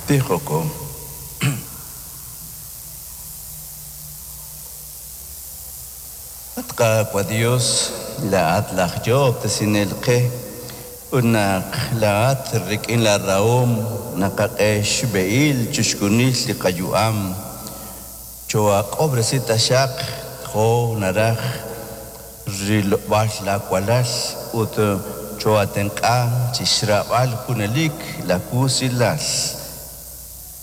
Tijoko. At Qaawa' Dios, laa'at laj Yoob'tesinel qe, ut naq laa'at rik'in laarahom naqak'e xb'ehil chixjunil li qayu'am. Choo'ak'ob'resi taxaq jo' naraj rilob'aal laawalal ut choo'aatenq'a chi xraab'al junelik laawusilal.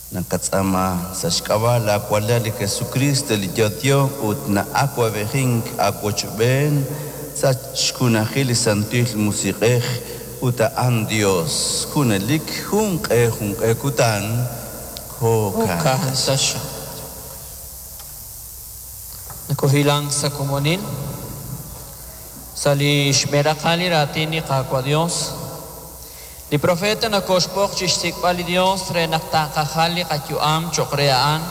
Naqatz'aama sa' xk'ab'a' laawalal li Jesukriist li yo'yo ut na'awab'ejink aawochb'een sa' xjunajil li Santil Musiq'ej ut a'an Yos junelik junq'e junq'e kutan. Jo'kan taxaq. Nakohilank sa' komonil sa' li xb'een raqal li raatin li Qaawa' Dios. Li profeta nakoxb'oq chi xsik'b'al li Dios re naq taaqajal li qayu'am cho'q re a'an.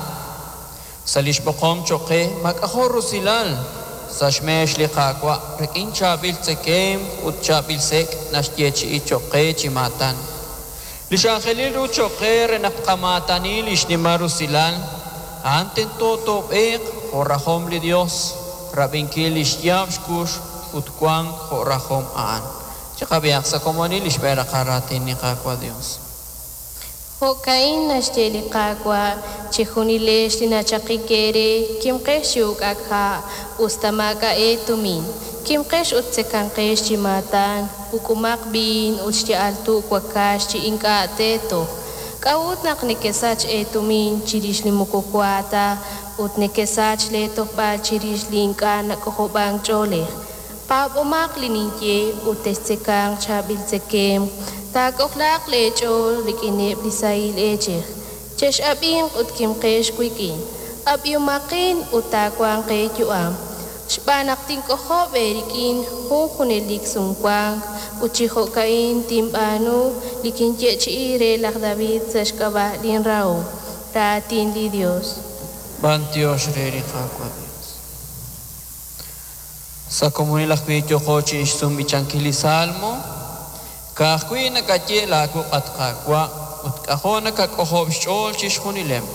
Sa' li xb'oqom cho'q qe maak'ajo' rusilal sa' xmeex li Qaawa' rik'in chaab'il tzekemq ut chaab'il sek' naxyeechi'i cho'q qe chi maatan. Li x'anjelil ru cho'q qe re naq tqamaatani li xnimal rusilal a'an tento toob'eeq jo' rajom li Dios, rab'inkil li xyaab' xkux ut wank jo' rajom a'an. Chiqab'ihaq sa' komonil li xb'een raqal raatin li Qaawa' Dios. Jo'ka'in naxye li Qaawa', chejunilex li nachaqik eere, kimqex chi uk'ak ha', us ta maak'a' eetumin. Kimqex ut tzekanqex chi maatan, uk'umaq b'iin ut xya'al tu' wakax chi ink'a' teetoj. K'a'ut naq nekesach eetumin chirix li moko wa ta ut nekesach leetojb'al chirix li ink'a' nak'ojob'ank ch'oolej? Paab'omaq li ninye ut textzekanq chaab'il tzekemq, taak'ojlaaq leech'ool rik'ineb' li sahil eechej. Chex'ab'inq ut kimqex wik'in, ab'ihomaqin ut taawanq eeyu'am. Xb'aan naq tink'ojob' eerik'in jun junelik sumwank ut chi jo'ka'in tinb'aanu li kinyeechi'i re laj David sa' xk'ab'a' linrahom. Raatin li Dios. B'antiox re li Qaawa' Dios. Sa' komonil ajwi' yooqo chi xsumb'ichankil li Salmo, ka'ajwi' nakaye laawuq' at Qaawa' ut k'ajo' nakak'ojob' xch'ool chixjunileb'.